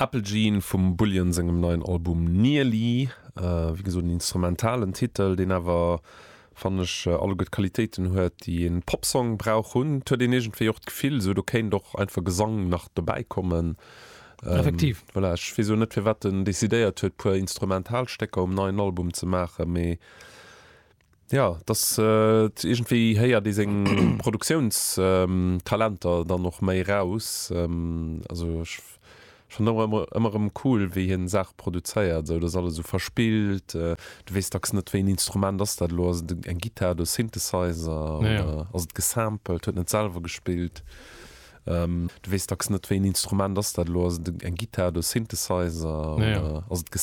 Apple Jean vum Bullion sengem neien Album Nearly. Wéi gesot en instrumentalen Titel, deen awer, fannen ech, alleguer d'Qualitéiten huet, déi en Popsong brauch hunn. Et huet een iergendwéi och d'Gefill, esou do kéint och einfach Gesang nach dobäi kommen. Effektiv. Voilà, ech weess elo net, firwat en decidéiert huet, puer instrumental Stécker um neien Album ze maachen, mee Jo, dass iergendwéi héiert ee seng Produktiounstalenter dann och méi raus. Also ech fannen och ëmmer ëmmer erëm cool, wéi hien Saache produzéiert, esou dass alles esou verspillt. Du weess dacks net, wéi en Instrument ass dat elo, ass et eng Gittar oder e Synthesizer oder ass et gesampelt, huet en et selwer gespillt. Du weess dacks net, wéi en Instrument ass dat elo, ass et eng Gittar oder e Synthesizer oder ass et.